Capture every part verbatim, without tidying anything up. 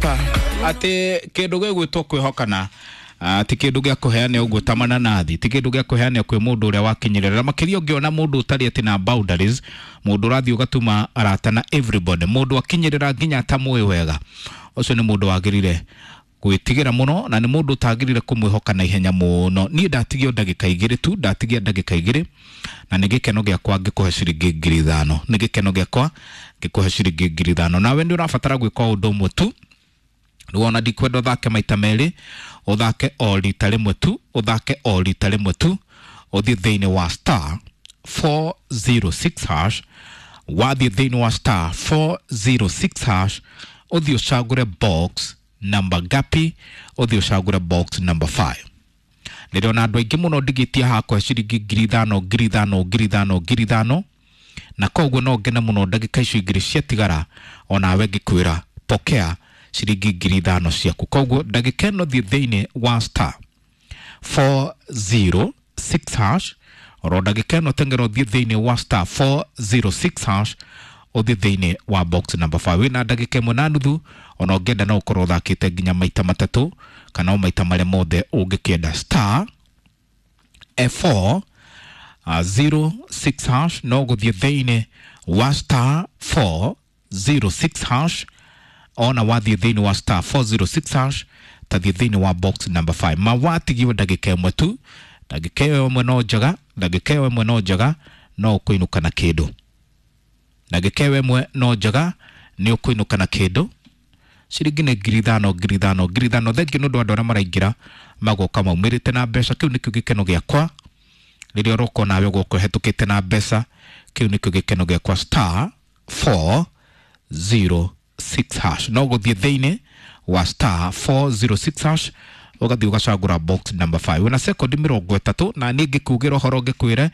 Prosper ati kindu gigwitwo kwihokana ti kindu gia kuheana uguo ta mananathi, ti kindu gia kuheana kwi mundu uria wakinyirira makiria ungiona mundu utari ati na boundaries, mundu urathi ugatuma arata na everybody, mundu akinyirira nginya atamũĩ wega, ucio ni mundu wagirire gwitigira muno na ni mundu utagirire kumwihoka na ihenya muno. Ni ndatigio ndagika igiri tu, ndatigia ndagika igiri na ni gikeno giakwa ngikuhe ciringi ngiri ithano, ni gikeno giakwa ngikuhe ciringi ngiri ithano. Nawe ni urabatara gwika undu umwe tu, wona ndikwenda uthake maita meri, uthake o rita rimwe tu, uthake o rita rimwe tu, uthie thiini wa star four zero six hash, wathie thiini wa star four zero six hash, uthie ucagure box number gapi, uthie ucagure box number five. Ndirona andu aingi muno ndigitia hakwa ciringi ngiri ithano ngiri ithano ngiri ithano ngiri ithano, na koguo no ngene muno ndagika icio igiri ciatigara onawe ngikwira pokea ciringi ngiri ithano ciaku. Koguo ndagika ĩno thiĩ thĩinĩ wa star four zero six hash, oro ndagika ĩno teng'era ũthiĩ thĩinĩ wa star four zero six hash, ũthiĩ thĩinĩ wa box number five. Wĩna ndagika ĩmwe na nuthu, ona ũngĩenda no ũkorwo ũthakĩte nginya maita matatũ kana o maita marĩa mothe ũngĩkĩenda. Star four zero six hash, no gũthiĩ thĩinĩ wa star four zero six hash, ona wathiĩ thĩinĩ wa star four zero six hash, tathiĩ thĩinĩ wa box number five. Mawatigiwe ndagĩka ĩmwe tu, ndagĩka ĩyo ĩmwe no njega, ndagĩka ĩyo ĩmwe no njega, no ũkũinũka na kĩndũ. Ndagĩka ĩyo ĩmwe no njega, nĩ ũkũinũka na kĩndũ. Ciringi nĩ ngiri ithano ngiri ithano ngiri ithano. Thengiũ nĩ ũndũ wa andũ arĩa maraingĩra magoka maumĩrĩte na mbeca. Kĩu nĩkĩo gĩkeno gĩakwa rĩrĩa ũroka nawe ũgoka ũhetũkĩte na mbeca, kĩu nĩkĩo gĩkeno gĩakwa. Star four zero six hash, no gũthiĩ thĩinĩ wa star four zero six hash, ũgathiĩ ũgacagũra box number five. Wĩna sekondi mĩrongo ĩtatũ na niĩ ngĩkugĩra ũhoro ngĩkwĩre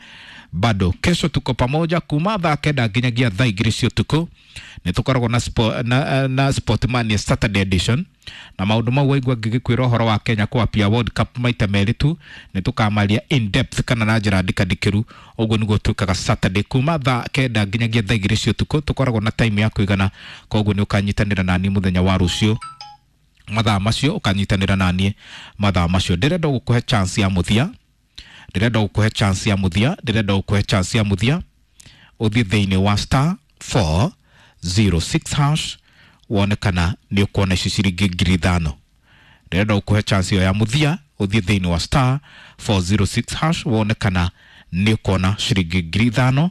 bado kesho tuko pamoja kuma thaa kenda nginyagia thaa igĩrĩ cia ũtukũ. Nĩ tũkoragwo na, spo, na, na Sportmania Saturday edition na maũndũ mau waigua ngĩgĩkwĩra ũhoro wa Kenya kwapia World Cup maita merĩ tu, nĩ tũkamaria in depth kana na njĩra ndikandikĩru. Ũguo nĩguo twĩkaga Saturday kuma thaa kenda nginyagia thaa igĩrĩ cia ũtukũ, tũkoragwo na time ya kũigana, koguo nĩ ũkanyitanĩra naniĩ mũthenya wa rũciũ mathaa macio, ũkanyitanĩra naniĩ mathaa macio. Ndĩrenda gũkũhe chance ya mũthia, ndĩrenda gũkũhe chance ya mũthia, ndĩrenda gũkũhe chance ya mũthia, ũthiĩ thĩinĩ wa star four zero six hash, wone kana nĩ ũkuona ici ciringi ngiri ithano. Ndĩrenda gũkũhe chance ĩyo ya mũthia, ũthiĩ thĩinĩ wa star four zero six hash, wone kana nĩ ũkuona ciringi ngiri ithano.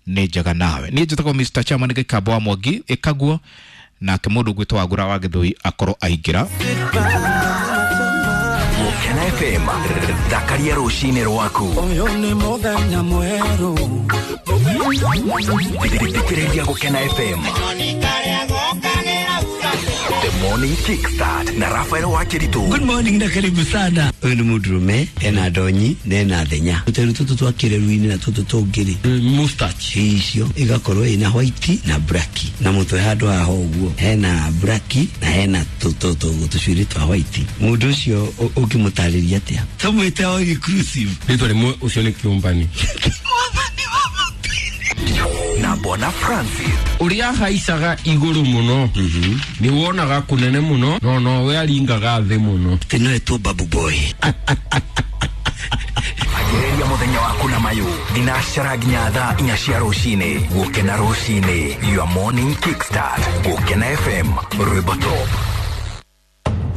Nĩ njega nawe. Niĩ njĩtagwo Mister Chairman Gĩkamba wa Mwangi ĩkaguo, nake mũndũ ũgwĩtwo Wagura wa Gĩthũi akorwo aingĩra. Gũkena F M, thakaria rũcinĩ rwaku. Ũyũ nĩ mũthenya mwerũ. Thikĩrĩria Gũkena F M. The Morning Kickstart na Rafael Wakiritu. Good morning na karibu sana. Ũyũ nĩ mũndũrũme ena ndonyi na ena thenya. Tũteru tũtũ twa kĩreru-inĩ na tũtũ tũngĩ-rĩ, mustache icio igakorwo ina white na black, na mũtwe handũ haha ũguo hena black na hena tũcuĩrĩ twa white. Mũndũ ũcio ũngĩmũtarĩria atĩa? Tũmwĩte all inclusive. Rĩtwa rĩmwe ũcio nĩ kĩũmbani. Na Bwana Francis uria haicaga iguru muno ni wonaga kunene muno no no we aringaga thi muno. Tino etwo Babu Boy. Agereria muthenya waku na mayu thinacara nginya thaa inya cia rucini. Gukena rucini, your morning kickstart. Gukena F M, rwimbo top.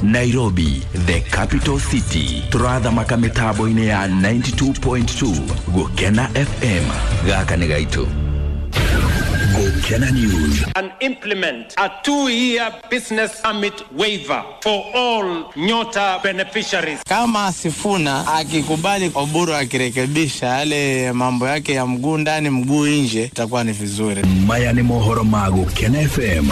Nairobi, the capital city. Turathamaka mitambo-inĩ ya ninety-two point two Gukena F M. Gaka nĩ gaitu. Gukena News. And implement a two-year business permit waiver for all Nyota beneficiaries. Kama Sifuna akikubali Oburu akirekebisha yale mambo yake ya mguu ndani mguu nje, itakuwa ni vizuri. Maya ni mohoro ma Gukena F M.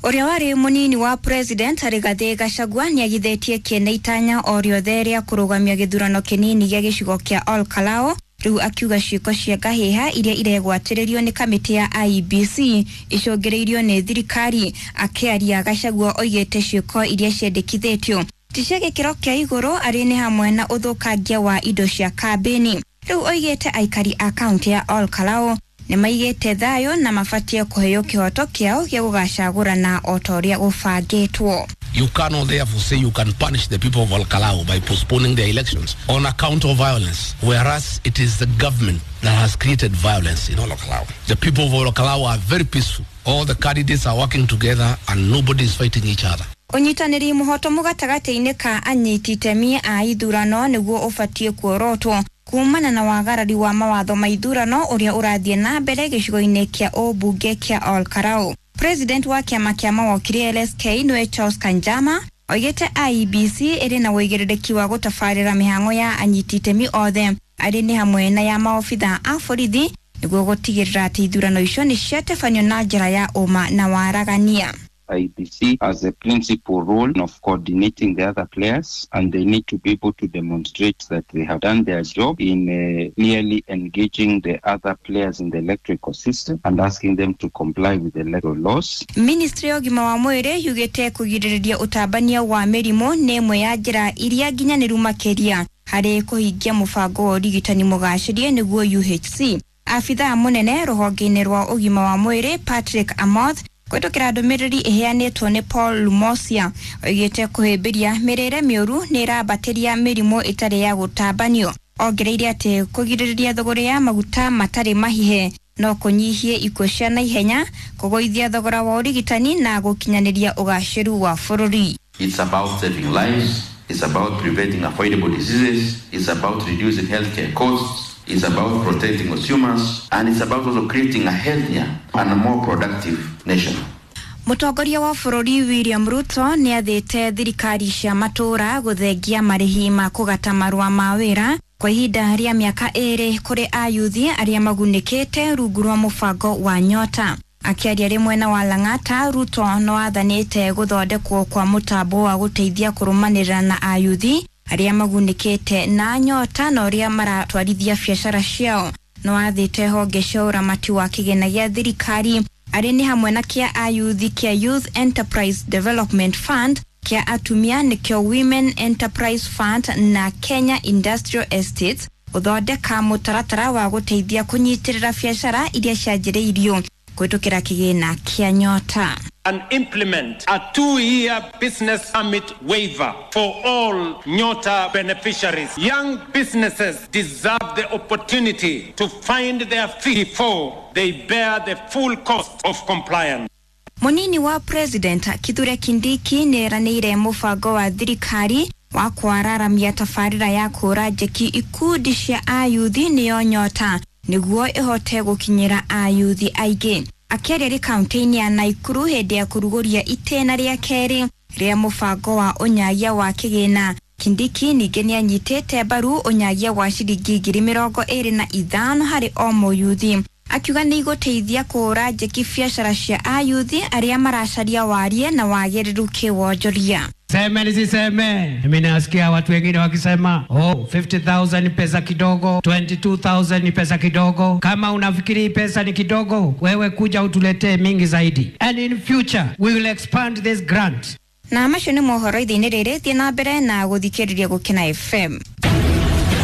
Ũrĩa warĩ mũnini wa president Rigathĩ Gachagua nĩagithĩtie kĩene itanya o rĩothe rĩa kũrũgamia gĩthurano kĩnini gĩa gĩcigo kĩa Ol Kalou, rĩu akiuga ciĩko cia ngahĩha iria iregwatĩrĩrio nĩ kamĩtĩ ya I E B C icũngĩrĩirio nĩ thirikari. Akĩaria Gachagua oigĩte ciĩko iria ciendekithĩtio ti cia gĩkĩro kĩa igũrũ arĩ nĩ hamwe na ũthũkangia wa indo cia kambĩni. Rĩu oigĩte aikari a kaunti ya Ol Kalou nĩ maigĩte thayũ na mabatie kũheo kĩhoto kĩao gĩa gũgacagũrana o ta ũrĩa gũbangĩtwo. You cannot therefore say you can punish the people of Olkalou by postponing their elections on account of violence, whereas it is the government that has created violence in Olkalou. The people of Olkalou are very peaceful. All the candidates are working together and nobody is fighting each other. Ũnyitanĩri mũhotomu gatagatĩ-inĩ ka anyiti itemi a ithurano nĩguo ũbatiĩ kuorotwo kumana na wagarari wa mawatho ma ithurano ũrĩa ũrathiĩ na mbere gĩcigo-inĩ kĩa ũmbunge kĩa Olkalou. President wa kĩama kĩa mawokiri L S K nĩwe Charles Kanjama oigĩte I E B C ĩrĩ na ũigĩrĩrĩki wa gũtabarĩra mĩhang'o ya anyiti itemi othe arĩ nĩ hamwe na ya maobitha a borithi nĩguo gũtigĩrĩra atĩ ithurano icio nĩ ciatabanio na njĩra ya ũma na waragania. I B C has a principal role of coordinating the other players, and they need to be able to demonstrate that they have done their job in uh, clearly engaging the other players in the electrical system and asking them to comply with the electoral laws. Ministry ya ũgima wa mwĩrĩ yugĩte kũgirĩrĩria ũtambania wa mĩrimũ nĩ ĩmwe ya njĩra iria nginyanĩru makĩria harĩ kũhingia mũbango wa ũrigitani mũgacĩrie nĩguo U H C. Abithaa mũnene rũhonge-inĩ rwa ũgima wa mwĩrĩ Patrick Amoth kũhetũkĩra ndũmĩrĩri ĩheanĩtwo nĩ Paul Lumosia oigĩte kũhĩmbĩria mĩrĩre mĩũru nĩ ĩrambatĩria mĩrimũ ĩtarĩ ya gũtambanio. Ongereire atĩ kũgirĩrĩria thogora ya maguta matarĩ mahihe no kũnyihie ikuũ cia naihenya, kũgũithia thogora wa ũrigitani na gũkinyanĩria ũgacĩru wa bũrũri. It's about saving lives, it's about preventing avoidable diseases, it's about reducing healthcare costs, it's about protecting consumers, and it's about also creating a healthier and a more productive nation. Mũtongoria wa bũrũri William Ruto nĩathĩte thirikari cia matũũra gũthengia marĩhi ma kũgata marũa ma wĩra kwa ihinda rĩa mĩaka ĩrĩ kũrĩ ayuthi arĩa magunĩkĩte rungu rwa mũbango wa Nyota. Akĩaria rĩ mwena wa Lang'ata, Ruto no athanĩte gũthondekwo kwa mũtambo wa gũteithia kũrũmanĩrĩra na ayuthi arĩa magunĩkĩte na Nyota na ũrĩa maratwarithia biacara ciao. No athĩte honge cia ũramati wa kĩgĩna gĩa thirikari arĩ nĩ hamwe na kĩa ayuthi kĩa Youth Enterprise Development Fund, kĩa atumia nĩkĩo Women Enterprise Fund na Kenya Industrial Estates gũthondeka mũtaratara wa gũteithia kũnyitĩrĩra biacara iria cianjĩrĩirio kũhetũkĩra kĩgĩna kĩa Nyota. And implement a two-year business permit waiver for all Nyota beneficiaries. Young businesses deserve the opportunity to find their feet before they bear the full cost of compliance. Munini wa President Kithure Kindiki nĩeranĩire mũbango wa thirikari wa kwararamia tabarĩra ya kũra njeki ikundi cia ayuthi nĩyo Nyota nĩguo ĩhote gũkinyĩra ayuthi aingĩ. Akĩaria rĩ kaunti-inĩ ya Naikuru hĩndĩ ya kũrugũria itĩna rĩa kerĩ rĩa mũbango wa ũnyagia wa kĩgĩna, Kindiki ningĩ nĩanyitĩte mbaru ũnyagia wa ciringi ngiri mĩrongo ĩrĩ na ithano harĩ o mũyuthi, akiuga nĩ igũteithia kũhũra njeki biacara cia ayuthi arĩa maracaria warie na wagĩrĩru kĩwonjoria. Seme nisiseme, mimi nasikia watu wengine wakisema oh, fifty thousand ni pesa kidogo, twenty-two thousand ni pesa kidogo. Kama unafikiri pesa ni kidogo, wewe kuja utuletee mingi zaidi. And in future we will expand this grant. Na macio nĩ mohoro ithe-inĩ rĩrĩ, thiĩ na mbere na gũthikĩrĩria Gũkena F M.